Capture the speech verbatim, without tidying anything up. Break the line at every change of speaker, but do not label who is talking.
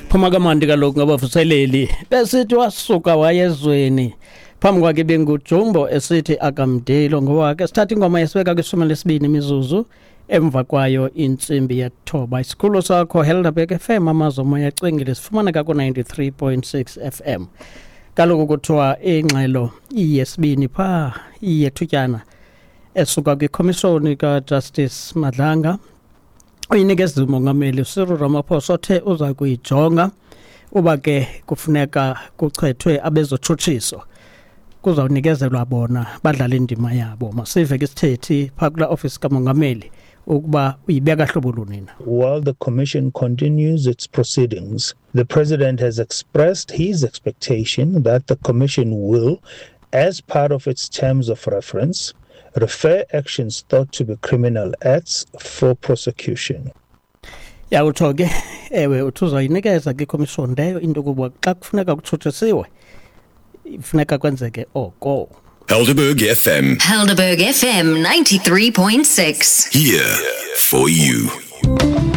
Phuma kamandi kaloku ngabavuseleli besithi wasuka wayezweni phambi kwakhe bengujumbo esithi akamdelo ngowakhe. Sithatha ingoma yesibeka kwishumi lesibini imizuzu emva kwayo intsimbi yethoba. Isikhululo sakho Helderberg F M, amazwi omoya acwengile, sifumaneka ku-ninety-three point six F M. Kaloku kuthiwa ingxelo iyesibini phaa iyethutyana esuka kwikhomishoni kaJustice Madlanga uyinikeza umongameli Cyril Ramaphosa othe uza kuyijonga uba ke kufuneka kuchethwe abezotshutshiso, kuzawunikezelwa bona badlale indima yabo. Masive ke isithethi phaa kulaa ofisi kamongameli ukuba uyibeka hlobo luni na.
While the commission continues its proceedings, the president has expressed his expectation that the commission will, as part of its terms of reference, refer actions thought to be criminal acts for prosecution.
Yawutsho ke, ewe, uthi uzayinikeza ke ikhomishoni leyo into yokuba xa kufuneka kutshutshisiwe, kufuneka kwenzeke oko.
Helderberg F M.
Helderberg F M ninety-three point six.
Here for you.